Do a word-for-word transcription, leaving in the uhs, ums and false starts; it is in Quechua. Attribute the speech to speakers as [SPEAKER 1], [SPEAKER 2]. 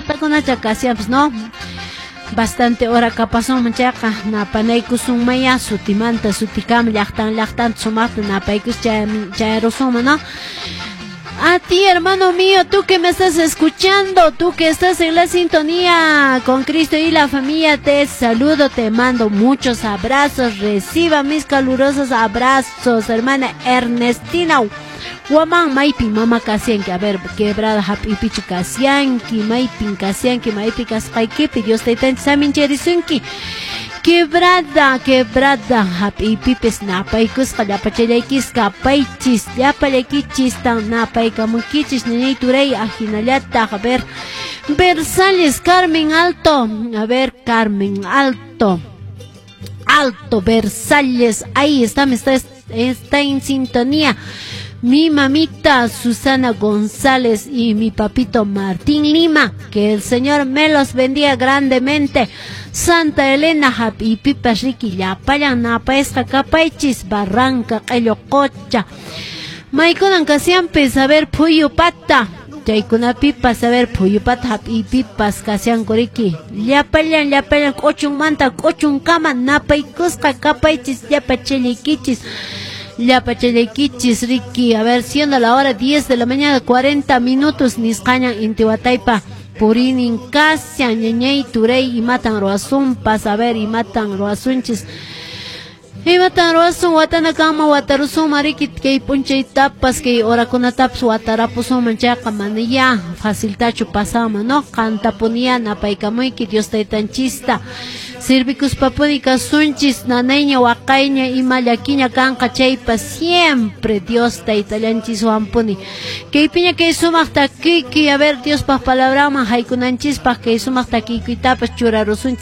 [SPEAKER 1] llaqtakunacha kasianpas, no? Bastante hora kapasunman chayqa napanaykusunmaya sutimanta sutikama llaqtan llaqtanta sumaqta napaykus chayarusunman, ¿no? A ti, hermano mío, tú que me estás escuchando, tú que estás en la sintonía con Cristo y la familia, te saludo, te mando muchos abrazos, reciba mis calurosos abrazos, hermana Ernestina Guamán, maypi mama kasianki, a ver, quebrada hap'ipichu kasianki, maypin kasianki, maypi kasqaykipi, Dios taytanchis samincharisunki. Quebrada, quebrada, hap'iypipis napaykusqa llapachallaykis kapaychis, llapallaykichis tan napaykamunkichis, ñañay turay ahinallataq, a ver, Versales, Carmen Alto, a ver, Carmen Alto, Alto, Versalles, ahí está, está, está en sintonía. Mi mamita Susana González y mi papito Martín Lima, que el Señor me los bendiga grandemente. Santa Elena hap'iypipas riki llapallan napayasqa kapaychis, Barranca, Q'ello Qocha. Maykunan kasianpis, a ver, Phuyupata. Chaykunapipas, a ver, Phuyupata hap'iypipas kasianku riki. Llapallan, llapallan k'uchunmanta k'uchunkama napaykusqa kapaychis llapachallaykichis. Llapachallaykichis riki, a ver, siendo la hora diez de la mañana, cuarenta minutos, nisqañan intiwataypa purinin kasian, ñañay turay, imatan ruwasunpas, a ver, imatan ruwasunchis. Imatan ruwasun watanakama watarusunman riki kay p'unchaytapas kay horakunatapas watarapusunman chayqa mana ya faciltachu pasanman, no? Qantapuniya napaykamuyki Dios taytanchista sirvikuspapuni kasunchis nanayña waqayña ima llakiña kanqa chaypas siempre Dios taytallanchiswanpuni kaypiña kay sumaq takiykuy, a ver, Diospaq palabranman haykunanchispaq kay sumaq takiykuytapas churarusunchis.